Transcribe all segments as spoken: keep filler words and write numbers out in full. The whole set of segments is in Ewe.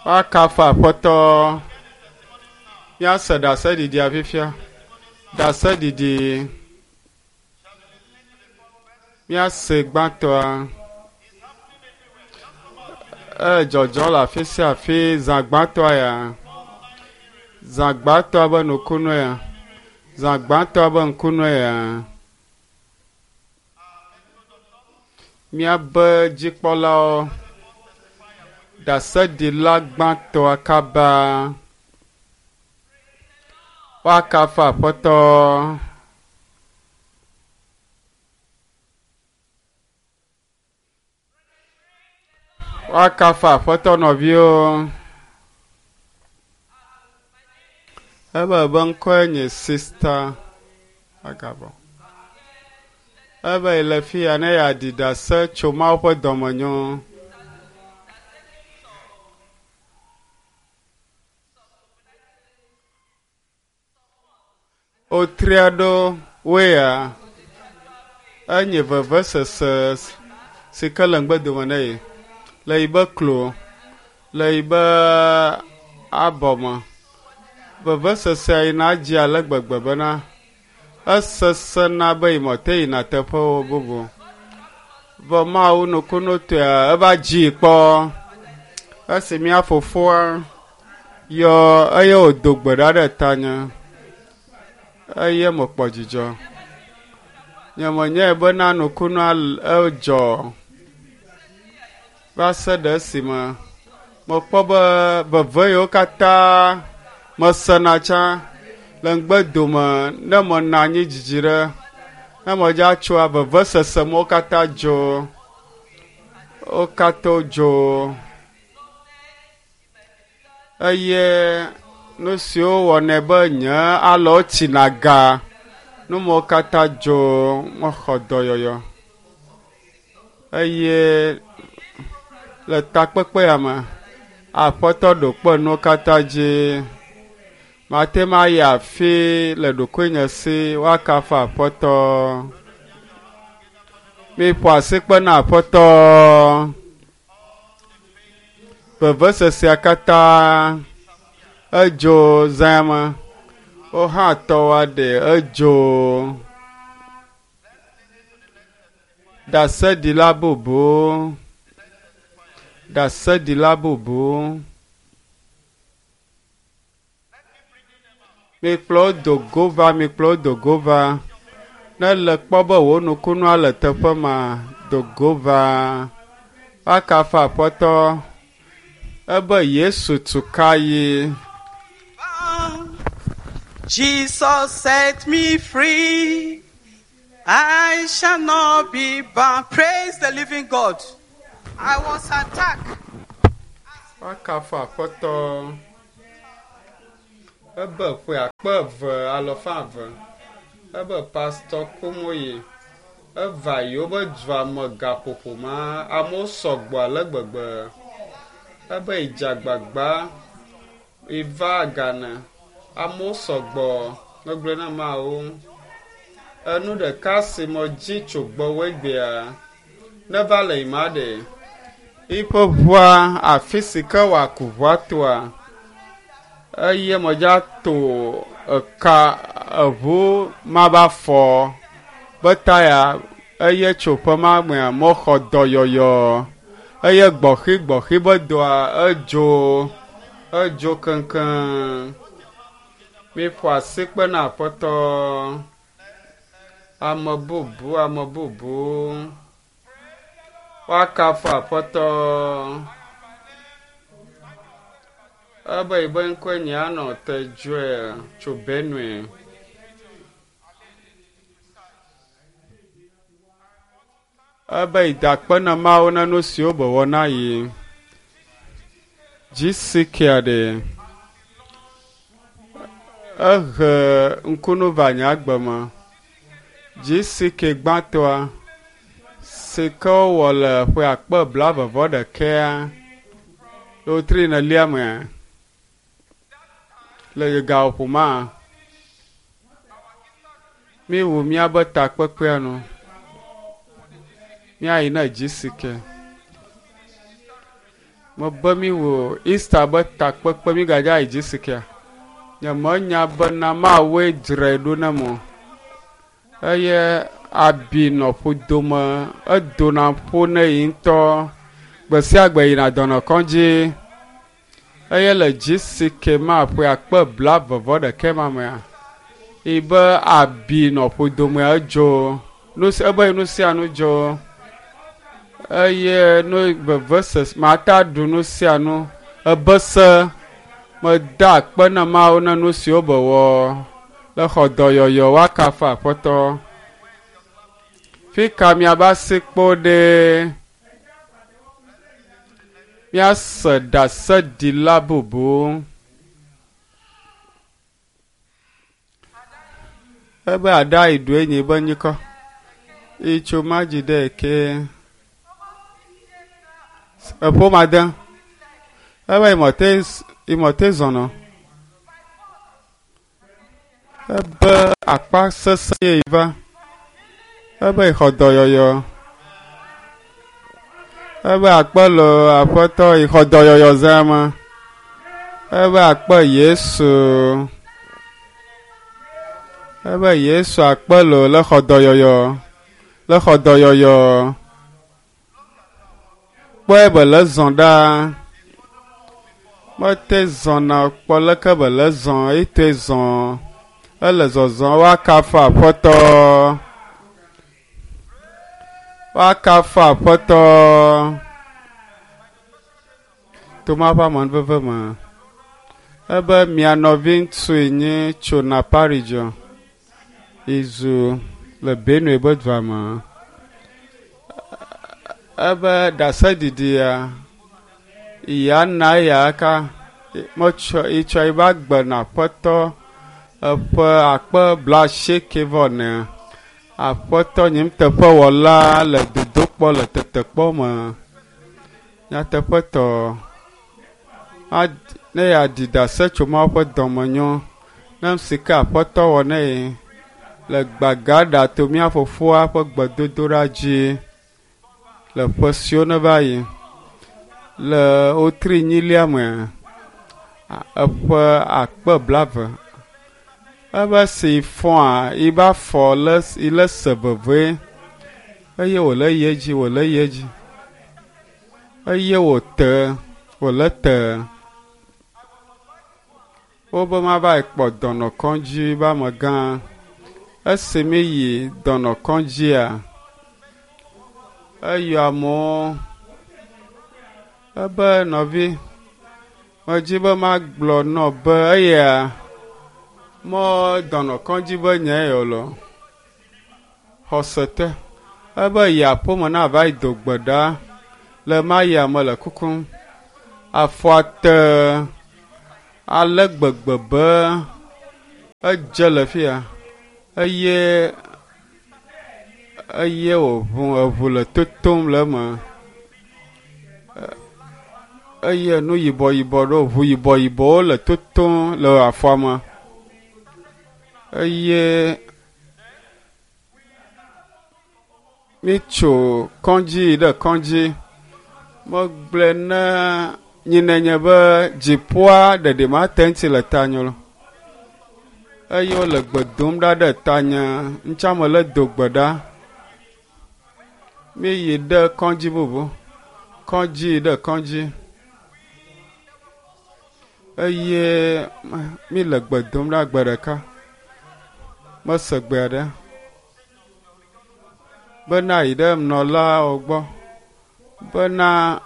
Woakafu Aƒetɔ. Míase ɖaseɖiɖia fifia. Ɖaseɖiɖi. Míase gbãtɔa. Ele dzɔdzɔm le afi sia afi zã gbãtɔa ya. Zã gbãtɔa be nukunu ya. Zã gbãtɔa be ŋkunue ya. Míabe dzikpɔlawo ɖaseɖila gbãtɔa kaba. Woakafu Aƒetɔ. Woakafu Aƒetɔ nɔviwo. Ebe be ŋkɔe nye Sista Agabɔ. Ebe yi le fi ya ne yeaɖi ɖase tso Mawu ƒe dɔmenyo. Wotria ɖo woe ya enye vevesese si ke le ŋgbedome ne yi le yi be klo le yi be abɔme. Vevesesea yina dzi ale gbegbe bena esesẽna be yi mete yina teƒewo bubu. Vɔ Mawu nukunutɔea eva dzi kpɔ. Esi mía fofoa yɔ eye wòdo gbe ɖa ɖe tanye eye mekpɔ dzidzɔ. Nye menyae bena nukunua edzɔ va se ɖe esime mekpɔ be veve yiwo katã mesena tsã le ŋgbedome ne menɔ anyi dzidzi ɖe ne medza tsoa vevesese mewo katã dzo. Wo katã dzo eye nu siwo wɔnɛ be nye alɔwo tsina ga nu mawo katã dzo mexɔ dɔyɔyɔ eye le takpekpe ya me Aƒetɔ ɖo kpe nuwo katã dzi. Mate ŋu ayi afi le ɖokuinye si woakafu Aƒetɔ. Miƒo asikpe na Aƒetɔ. Vevesesea katã edzo zã me. Wo hã tɔwoa ɖe edzo. Ɖaseɖila bubu. Ɖaseɖila bubu. Mikplɔ wo do go va, mikplɔ wo do go va. Ne le kpɔ be wò nukunua le teƒe ma, do go va. Woakafu Aƒetɔ. Ebe Yesu tu ka yi. Jesus set me free. I shall not be bound. Praise the living God. I was attacked. Woakafu Aƒetɔ. Ebe ƒe akpe eve alɔfa eve. Ebe Pastor Kumoyi. Eva yiwo be dua me gaƒoƒo ma amewo sɔgbɔ ale gbegbe. Ebe yidze agbagba yiva Ghana. Amewo sɔgbɔ megblɔ na Mawu. Enu ɖeka si medzi tso gbɔwò egbea neva le yima ɖe. Yiƒe ʋua afi si ke wòaku ʋua toa eye medza to eka eʋu ma be afɔ be taya eye tso ƒe ma mea mexɔ dɔyɔyɔ eye gbɔxi gbɔxi be dɔa edzo edzo keŋkeŋ. Miƒo asikpe na Aƒetɔ. Ame bubu ame bubu. Woakafu Aƒetɔ. Ebe yi be ŋkɔe nye anɔ te Joel tso Benue. Ebe yi da akpe na Mawu na nu siwo be wɔ na yi. G C K ɖe. Ehe ŋkunu va nye agbe me. G C K gbãtɔa si ke wowɔ le ƒe akpe blaeve vɔ ɖekɛa le wotri nelia mea le gaƒoƒo ma míewu míabe takpekpea nu. Míayi na G C K. Mebe mi wò Easter be takpekpe mi gadza yi dzi sikia. Nye menya bena Mawue dzrae ɖo nam o. Eye abi nɔ ƒodome edona ƒo ne yi ŋutɔ. Gbe sia gbe yina dɔnɔkɔdzi. Eye le dzi si ke ma ƒe akpe blaeve vɔ ɖekɛ ma mea, yi be abi nɔ ƒodome edzo. Nu si ebe nu sia nu dzo. Eye nu vevesese mata ɖu nu sia nu. Ebe se meda akpe na Mawu na nu siwo be wɔ le xɔ dɔyɔyɔ woakafu Aƒetɔ. Fi ka miabe asi kpo ɖe? Míase ɖaseɖila bubu. Ebe aɖa yi ɖu enyi be nyikɔ. Itso madzi ɖe ke. Eƒo ma de. Ebe imɔte imɔte zɔnɔ. Ebe akpa sesẽ ye yi va. Ebe xɔ dɔyɔyɔ. Ebe akpe le Aƒetɔ yi xɔ dɔyɔyɔ zã ma. Ebe akpe Yesu. Ebe Yesu akpe le le xɔ dɔyɔyɔ. Le xɔ dɔyɔyɔ. Kpɔe be le zɔ ɖa. Mete zɔna kpɔ leke be le zɔ ete zɔ. Ele zɔzɔ woakafu Aƒetɔ. Woakafu Aƒetɔ. Toma ƒe amenuveve me. Ebe mia nɔvi ŋutsu nye tso Napa region. Izu le Benue be dua me. Ebe ɖaseɖiɖia ya na eya ka metsɔ etsɔ ebe agbe na Aƒetɔ eƒe akpe blaasieke vɔ ene. Aƒetɔ nye nuteƒewɔla le dodokpɔ le tetekpɔ me. Nyateƒetɔ ad ne yeaɖi ɖase tso Mawu ƒe dɔmenyo ne nu si ke Aƒetɔ wɔ ne ye le gbagaɖa to mía fofoa ƒe gbedodoɖa dzi le ƒe siwo ne va yi le wotri nyilia me eƒe akpe blaeve. Ebe si fɔa yi ba fɔ le yi le se veve eye wòle yi edzi wòle yi edzi eye wòte wòle te. Wobe mava yi kpɔ dɔnɔkɔdzi be amegã. Esi mi yi dɔnɔkɔdzia, eyɔ amewo. Ebe nɔvi, medzi be magblɔ nɔ be eya mɔ dɔnɔkɔdzi be nye yɔ lɔ. Xɔse te. Ebe yi aƒeme na va yi do gbe ɖa le ma ya me le kukum. Afɔa te ale gbegbe be edze le fia eye eye wòʋu eʋu le totom le eme. Eye nu yibɔ yibɔ ɖewo ʋu yibɔ yibɔwo le totom le afɔa me. Eye mitso kɔdzi yi ɖe kɔdzi. Megblɔe ne nyinenye be dziƒoa ɖeɖi mate ŋuti le tanye lo. Eye wole gbe dom ɖa ɖe tanye. Ŋutsa me le do gbe ɖa. Mi yi ɖe kɔdzi bubu. Kɔdzi yi ɖe kɔdzi. Eye mi le gbe dom ɖa gbe ɖeka. Mese gbe aɖe. Bena yi ɖe nunɔlawo gbɔ. Bena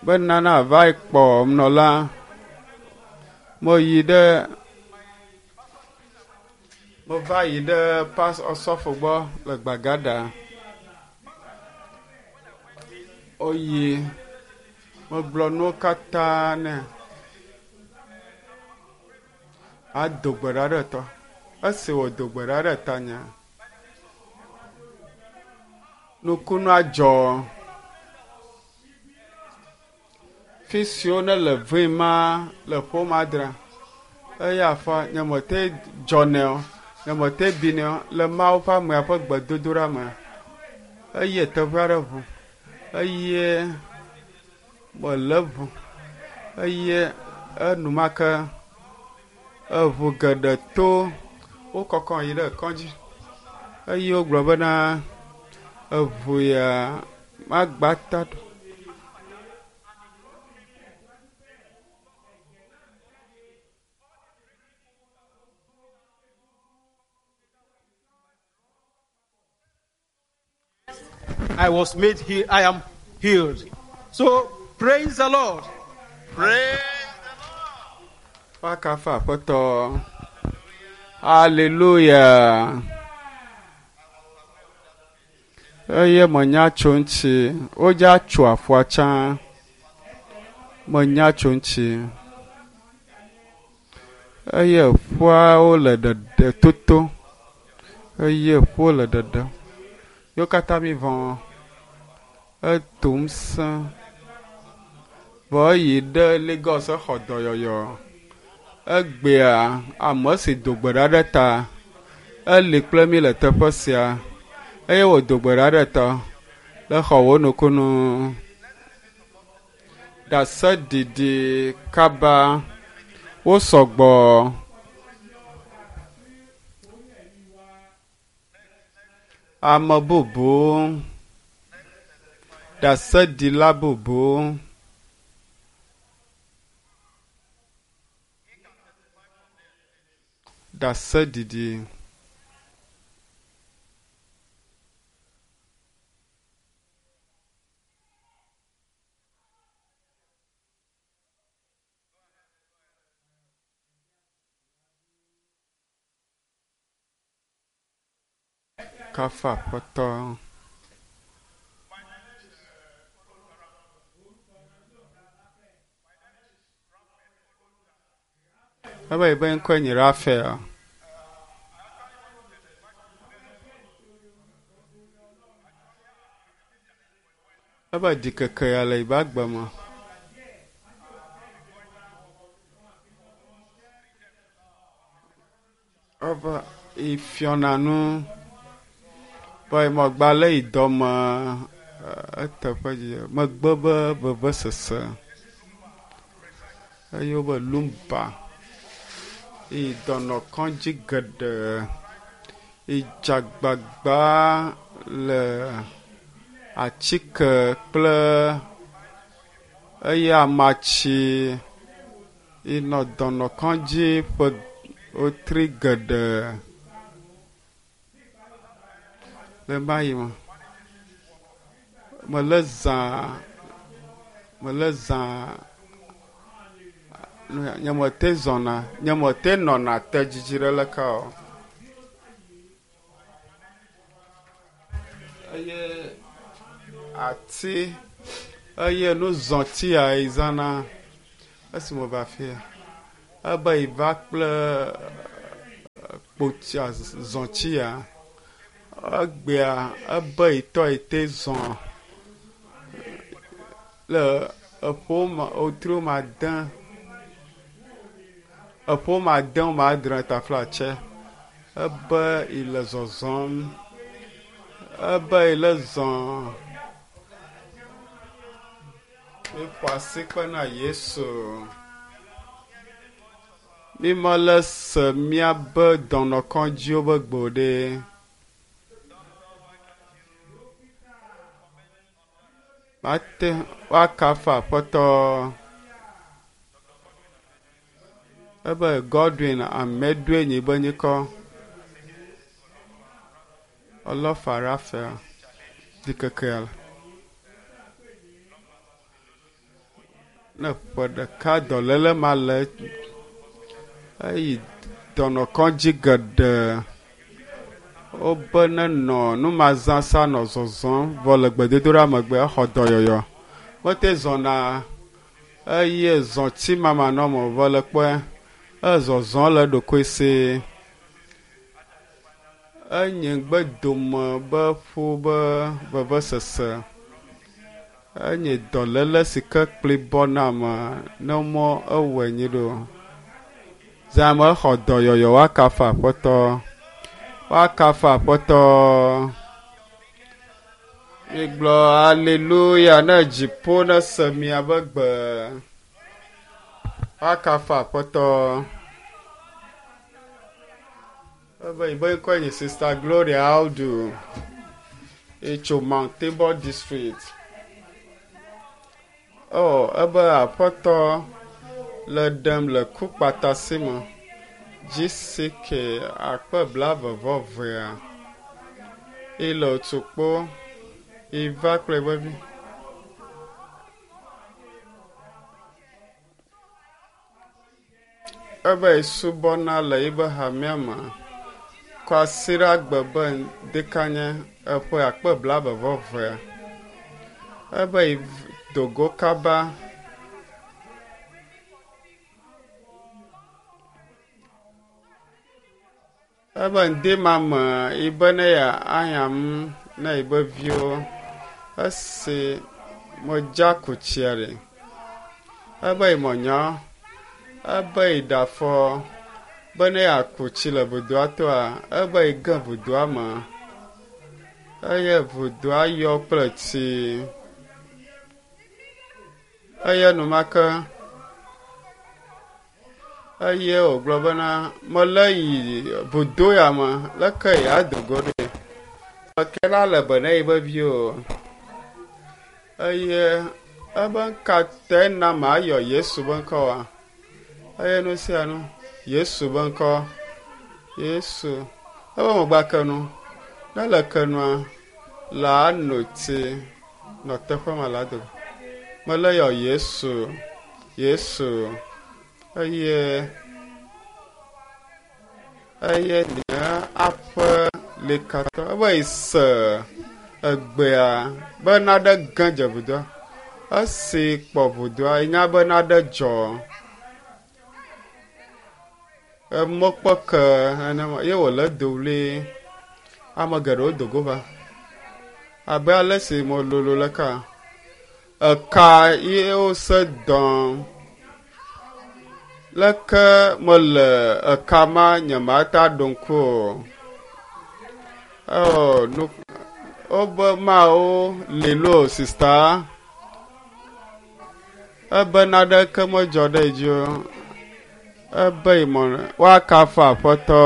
bena na va yi kpɔ nunɔla. Meyi ɖe meva yi ɖe pas osɔfo gbɔ le Gbagada. Woyi megblɔ nuwo katã nɛ. Ado gbe ɖa ɖe tɔ. Esi wòdo gbe ɖa ɖe tanye. Nukunu adzɔ. Fi siwo ne le vee ma le ƒome adre. Eye afɔ nye mete dzɔnɛ o, nye mete binɛ o le Mawu ƒe amea ƒe gbedodoɖa me. Eye teƒe aɖe ʋu. Eye Mele ʋu eye enumake eʋu geɖe to wokɔkɔ yi ɖe kɔdzi eye wogblɔ bena eʋu ya magba ta ɖo. I was made heal. I am healed. So praise the Lord. Praise Woakafu Aƒetɔ. Hallelujah. Eye menya tso ŋuti. Wodza tso aƒua tsã. Menya tso ŋuti. Eye ƒuawo le ɖeɖe toto. Eye ƒuwo le ɖeɖem. Yewo katã mi vɔ. Etom sẽ. Vɔ eyi ɖe Lagos exɔ dɔyɔyɔ. Egbea ame si do gbe ɖa ɖe ta eli kple mi le teƒe sia eye wòdo gbe ɖa ɖe ta le xɔ wò nukunu. Ɖaseɖiɖi kaba wo sɔgbɔ. Ame bubu ɖaseɖila bubu. Ɖaseɖiɖi. Kafu Aƒetɔ. Ebe yi be ŋkɔe nye Rafael. Ebe ɖikeke ya le yibe agbe me. Ebe ifiɔna nu be megba le yi dɔme eteƒe dzi megbe be vevesese eye wobe lumba yi dɔnɔkɔdzi geɖe idzagbagba le atike kple eye amatsi inɔ dɔnɔkɔdzi ƒe wotri geɖe le ma yi me. Mele zã mele zã nye mete zɔna nye mete nɔna te dzidzi ɖe leke o. Eye ati eye nuzɔti ya yi zãna esime wòva fia ebe yi va kple kpotsia zɔtsi ya egbea ebe yitɔ yi te zɔ le eƒo ma wotri ma de eƒo ma de ma adre taflatse ebe yi le zɔzɔm ebe yi le zɔ miƒo asi kpe na Yesu. Mi mele se míabe dɔnɔkɔdziwo be gbe o ɖe. Mate woakafu Aƒetɔ. Ebe Godwin Amedoe nye be nyikɔ. Ɔlɔfa Raphael ɖikekea. Ne ƒe ɖeka dɔléle ma le eyi dɔnɔkɔdzi geɖe wobe nenɔ numazãsa nɔ zɔzɔm vɔ le gbedodoɖa megbe exɔ dɔyɔyɔ. Mete zɔna eye zɔti mamanɔme vɔ le kpɔe ezɔzɔ le ɖokui si. Enye ŋgbedome be ƒu be vevesese. Enye dɔléle si ke kpli bɔ na ame ne mɔ ewɔe nyi ɖo. Zãme exɔ dɔyɔyɔ woakafu Aƒetɔ. Woakafu Aƒetɔ. Migblɔ aleluya ne dziƒo ne se miabe gbe. Woakafu Aƒetɔ. Ebe yibe ŋkɔe nye Sister Gloria Audu. Etso Mount Tabor District. Oh, ebe Aƒetɔ le ɖem le ku kpata si me. GCK akpe blaeve vɔ evea. Ele otukpo. Iva kple eƒe vi. Ebe subɔna le yibe hamea me. Kwasiɖagbe be ŋdekanye eƒe akpe blaeve vɔ evea. Ebe dogo kaba. Ebe ŋdi ma me yibe ne ya ahĩam ne yibe viwo. Esi medza ku tsia ɖe. Ebe yi mɔnyɔ. Ebe yi ɖe afɔ be ne yeaku tsi le vudoa toa, ebe yi ge vudoa me. Eye vudoa yɔ kple tsi. Eye enumake eye wògblɔ bena mele yi vudo ya me leke yeado go ɖe. Ke la le be ne yibe viwo. Eye ebe ŋka te na mayɔ Yesu be ŋkɔ wa. Eye nu sia nu Yesu be ŋkɔ. Yesu. Ebe megba ke nu. Ne le ke nua, la no tsi nɔ teƒe ma la do. Mele yɔ Yesu. Yesu. Eye eye nye aƒe le katã ebe yi se egbea be naɖe ge dze vudoa. Esi kpɔ vudoa, enya be naɖe dzɔ. Emɔkpɔ ke nenema ye wòle do ɣli. Ame geɖewo do go va. Abe ale si mololo le ka. Eka ye wose dɔm. Leke mele eka ma nye mata ɖo ŋku o. Oh, nu wobe mawo li loo sista. Ebe naɖeke medzɔ ɖe edzi o. Ebe yi mɔ woakafu Aƒetɔ.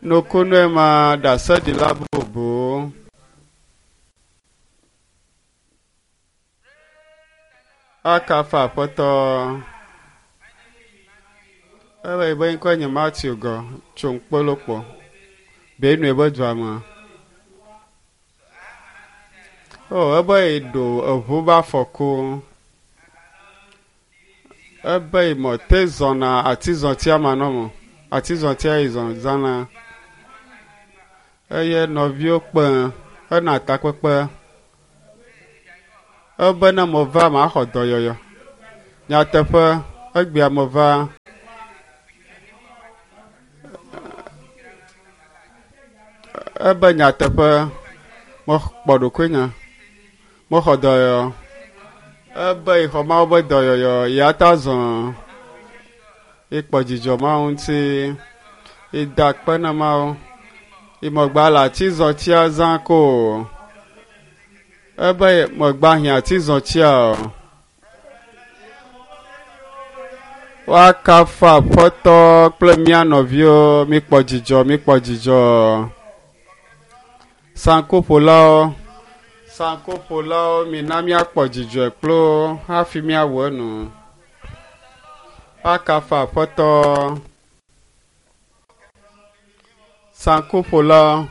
Nukunue ma ɖaseɖila bubu. Akafu Aƒetɔ. Ebe yibe ŋkɔe nye Matthew gɔ tso Ŋkpolokpo. Benue be dua me. Oh, ebe yi ɖo eʋu be afɔku. Ebe yi mɔ te zɔna atizɔtia manɔme. Atizɔtia yi zɔ zãna. Eye nɔviwo kpe hena takpekpe. Ebe ne meva maxɔ dɔyɔyɔ. Nyateƒe egbea meva. Ebe nyateƒe mekpɔ ɖokuinye. Mexɔ dɔyɔyɔ. Ebe yi xɔ Mawu be dɔyɔyɔ ya ta zɔ. Ekpɔ dzidzɔ Mawu ŋuti. Eda akpe na Mawu. Imegba le atizɔtia zã ko o. Ebe megba hiã atizɔtia o. Woakafu Aƒetɔ kple mía nɔviwo. Mikpɔ dzidzɔ, mikpɔ dzidzɔ. Sankuƒolawo, sankuƒolawo, mina míakpɔ dzidzɔe kplo hafi míawɔ enu. Woakafu Aƒetɔ. Sankuƒolawo.